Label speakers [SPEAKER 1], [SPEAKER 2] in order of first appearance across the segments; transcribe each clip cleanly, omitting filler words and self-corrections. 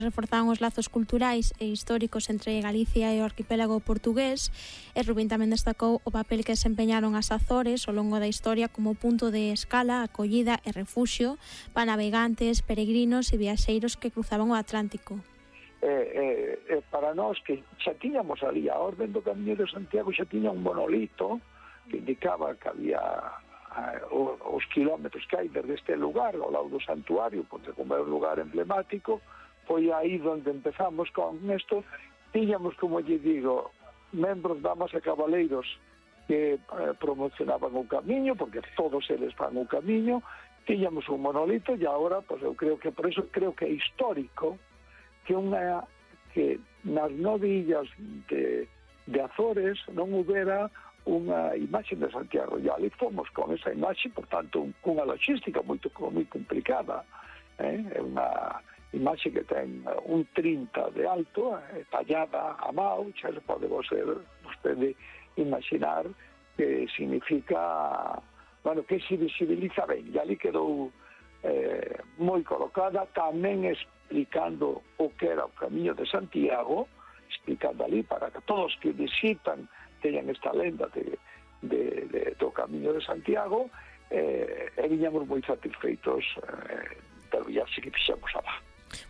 [SPEAKER 1] reforzaban os lazos culturais e históricos entre Galicia e o arquipélago portugués, e Rubín tamén destacou o papel que desempeñaron as Azores ao longo da historia como punto de escala, acollida e refuxio para navegantes, peregrinos e viaxeiros que cruzaban o Atlántico.
[SPEAKER 2] Para nós que xa tiñamos ali a Orden do Camiño de Santiago, xa tiña un monolito que indicaba que había os kilómetros que hai desde este lugar ao lado do santuario, porque como é un lugar emblemático, foi aí onde empezamos con isto. Tiñamos, como lle digo, membros, damas e cabaleiros que promocionaban o camiño, porque todos eles van o camiño. Tiñamos un monolito e agora, pues, eu creo que por eso creo que é histórico que nas 9 illas de Azores non houbera unha imaxe de Santiago, e ali fomos con esa imaxe, por tanto, cunha logística moi complicada. É unha imaxe que ten un 30 de alto, tallada a mão, xa se pode vostede imaginar que significa, bueno, que se visibiliza ben, e ali quedou moi colocada, tamén explicando o que era o Camiño de Santiago, explicando ali para que todos que visitan teñan esta lenda do Camiño de Santiago, e viñamos moi satisfeitos do viaxe que fixemos alá.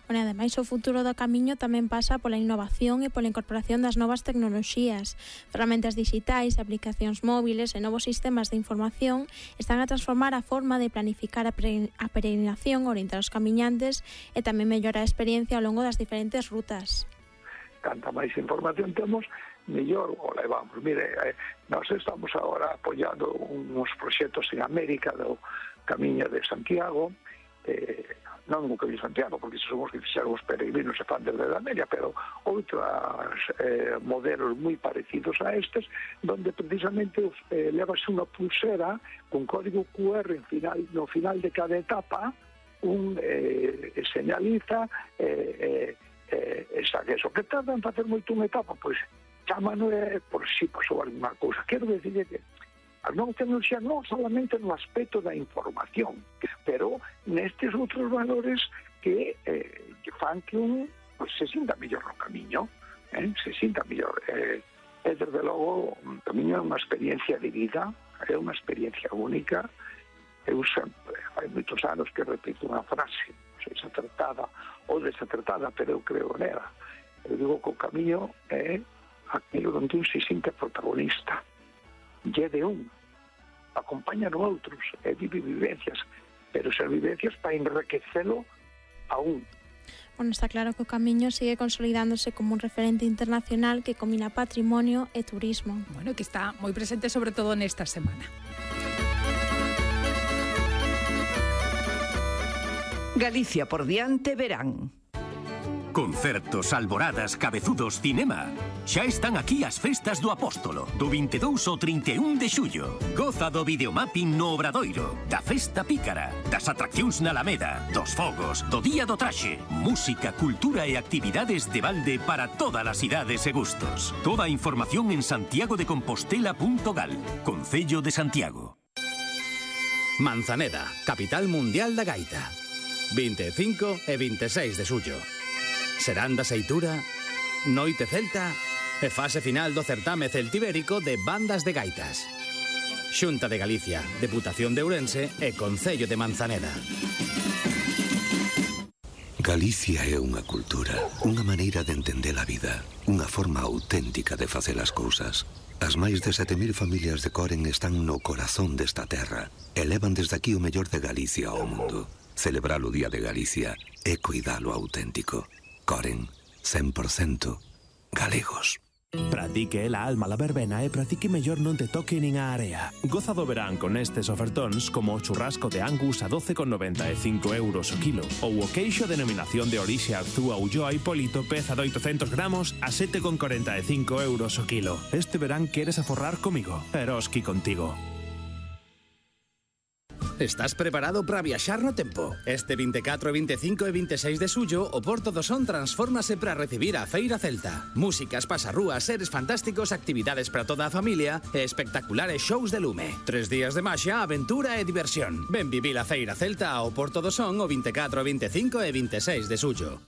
[SPEAKER 1] Bueno, ademais, o futuro do camiño tamén pasa pola innovación e pola incorporación das novas tecnoloxías. Ferramentas digitais, aplicacións móviles e novos sistemas de información están a transformar a forma de planificar a peregrinación, orientar os camiñantes e tamén mellorar a experiencia ao longo das diferentes rutas.
[SPEAKER 2] Canta máis información temos, mellor o levamos. Mire, nós estamos agora apoiando uns proxectos en América do Camiño de Santiago, non o Camiño de Santiago, porque somos que fixeron os peregrinos e fan desde a América, pero outros modelos moi parecidos a estes, donde precisamente levas unha pulsera con código QR no final de cada etapa, señaliza eso que tarda en facer moito unha etapa, pois chámano por si pasou alguma cousa. Quero decirle que a nova tecnoloxía non solamente no aspecto da información, pero nestes outros valores que fan que un se sinta mellor no camiño, se sinta mellor. E desde logo, o camiño é unha experiencia de vida, é unha experiencia única. Eu sempre, hai moitos anos que repito unha frase, non sei se acertada ou desacertada, pero eu creo nela. Eu digo que o camiño é aquilo onde un se sinta protagonista. E de un, acompaña no outros, e vive vivencias, pero esas vivencias para enriquecelo a un.
[SPEAKER 1] Bueno, está claro que o camiño sigue consolidándose como un referente internacional que combina patrimonio e turismo.
[SPEAKER 3] Bueno, que está moi presente sobre todo nesta semana.
[SPEAKER 4] Galicia por diante verán.
[SPEAKER 5] Concertos, alboradas, cabezudos, cinema. Xa están aquí as festas do Apóstolo, do 22 ao 31 de xullo. Goza do videomapping no Obradoiro, da festa pícara, das atraccións na Alameda, dos fogos, do Día do Traxe, música, cultura e actividades de balde para todas as idades e gustos. Toda a información en santiagodecompostela.gal, Concello de Santiago.
[SPEAKER 6] Manzaneda, capital mundial da gaita. 25 e 26 de xullo. Serán da Seitura, Noite Celta e fase final do certame celtibérico de bandas de gaitas. Xunta de Galicia, Deputación de Ourense e Concello de Manzaneda.
[SPEAKER 7] Galicia é unha cultura, unha maneira de entender a vida, unha forma auténtica de facer as cousas. As máis de 7.000 familias de Coren están no corazón desta terra e levan desde aquí o mellor de Galicia ao mundo. Celebrar o Día de Galicia é cuidar o auténtico. Coren, 100% galegos.
[SPEAKER 8] Pratique la alma la verbena e pratique mellor non te toque nin a area. Goza do verán con estes ofertóns como o churrasco de Angus a 12,95 euros o kilo ou o queixo denominación de orixe Arzúa Ulloa Hipólito peza de 800 gramos a 7,45 euros o kilo. Este verán queres aforrar comigo, Eroski contigo.
[SPEAKER 6] Estás preparado para viaxar no tempo? Este 24, 25 e 26 de xullo, o Porto do Son transfórmase para recibir a Feira Celta. Músicas, pasarrúas, seres fantásticos, actividades para toda a familia e espectaculares shows de lume. 3 días de maxia, aventura e diversión. Ven vivir a Feira Celta ao Porto do Son o 24, 25 e 26 de xullo.